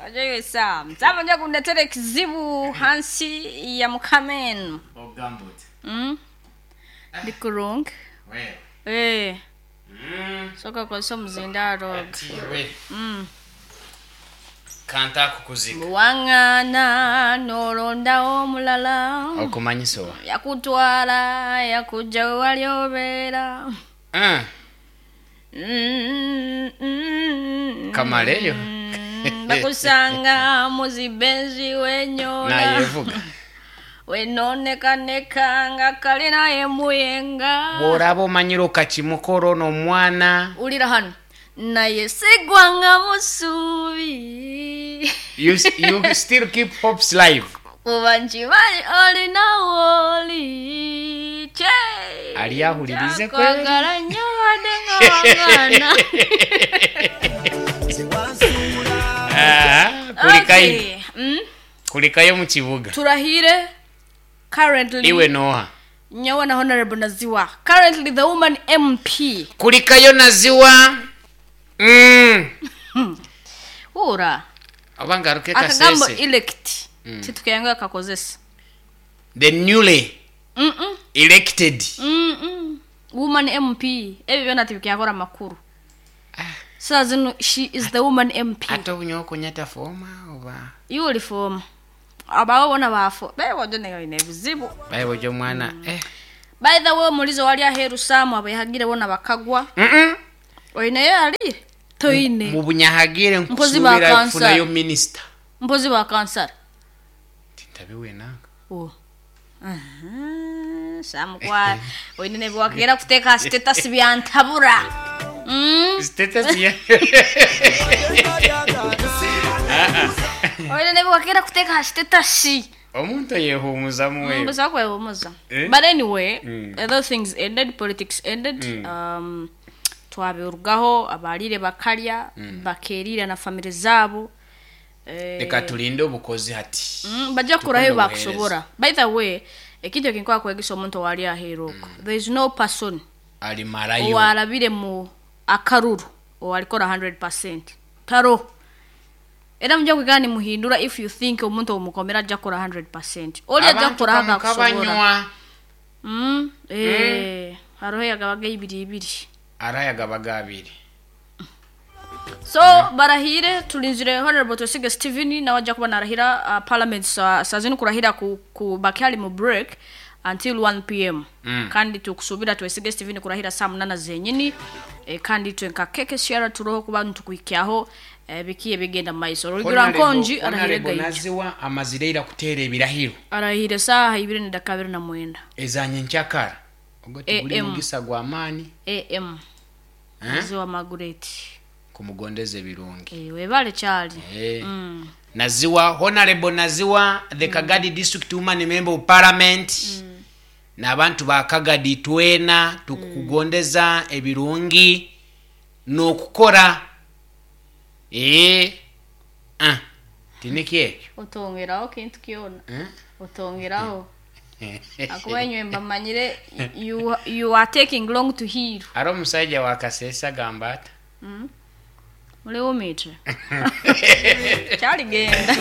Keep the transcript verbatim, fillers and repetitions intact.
Ojoyesa mzama nja kundetera ekizibu hansi ya mukameno. Ogamba oti? Mm. Ndi kurungi. Wewe. Eh, Mm. soka kozesa omuzindaaro ogu. Atiwe. Mm. Kanta kukuzika. Waŋŋaana n'olondawo omulala. Okumanyisa owa? Yakutwala yakujja we wali obeera. Ah, Mm, mm, Kamaleyo. mm, bakusanga mu zibenzi wenyola. Nayevuga. Wenonekaneka nga kalina emuyenga. Bw'oraba omanyire okakimukora ono omwana. Wulira hano naye sigwanga musuubi. You, you still keep hopes live. Kuba nkimanyi olina wooli kye. Ali ahulirize kweli. Nkwagala nnyo wadde nga wagaana. Ah, kulikayo. Okay. Mm. Kulikayo mu kibuga. Turahire currently Iwe noha. nyowe na Honorable Naziwa, currently the woman M P. Kulikayo Naziwa. Mm. Ura Oba ngaruke akagambo Kasese. elect titukeyanga kakozesa. The newly Mm -mm. elected. Mm -mm. Woman M P, ebyo byona tibikyakora makuru saa zino. She is the woman M P. Ate obunyowe kunyata former oba? Uniform abawo bona bafo bebojo neine ebizibu. Bayibojo omwana eh. By the way, omulizo wali aheeru saamu abayahagire bona bakagwa. Mm -mm. Oineyo ali toine. Mu bunyahagire Mpozi nkusuubira ba kufunayo kansala. Minisita. Mpozi bakansara. Tintabiwenanga. Oh. Aha, Samu kwa oine nebiwakera kuteeka status byantabura. Mm. Status ya Oine nebiwakera kuteeka status. Omuntu yehuumuzamu wewe. Mbuza kwewumuza. Eh? But anyway, Mm. other things ended, politics ended. Mm. Um, twabirugaho abalire bakalya bakerira na family zabo. Eh, Leka tulinde obukozi hati. Mm, bajja kukurayo Tukunde. bakusobora. By the way, ekintu ekinkwaka kwegesa omuntu owali aheeru okwo, there is no person alimarayo owarabire mu akaruru owalikora one hundred percent taro. Era mujja kwigana nimuhindura. If you think omuntu omukomera ajja kukora one hundred percent, oli ajja Abantu kukora kamuka akakusobora. Banywa. Mm, eh, hariho yagabaga ibiri ibiri. Arayagabaga abiri. So barahire, tulinzire Honorable Twesige Steven nawe ajja kuba narahira uh, parliament sa, saa zino kurahira ku, ku bakyali mu break until one p m. Mm. Kandi tukusubira Twesige Steven kurahira saa munana zenyini e, kandi twe nka keke share turoho kuba ntukuhikyaho e, bikiye bigenda mu maiso. Rugira nkonji arahire Honorable gaija. Naziwa amazire ira kuteera ebirahiro. Arahire saaha ibiri nedaka abiri na mwenda. Ezanye nkyakara ogwo tiguli A M. mugisa gwa maani. A M. Eh? Naziwa Margaret. Kumugondeza ebirungi. E, webale kyali. Eh. mm. Naziwa, Honorable Naziwa, the Kagadi District Woman Member of Parliament, n'abantu ba Kagadi twena tukukugondeza ebirungi n'okukora. Eh, ah, tiniki ekyo. Otongeraho kintu kyona. Eh? Otongeraho akuba enywe mbamanyire you, you are taking long to heal. Ari omusajja wa Kasese agamba ata? Muliwumitre kyaligenda.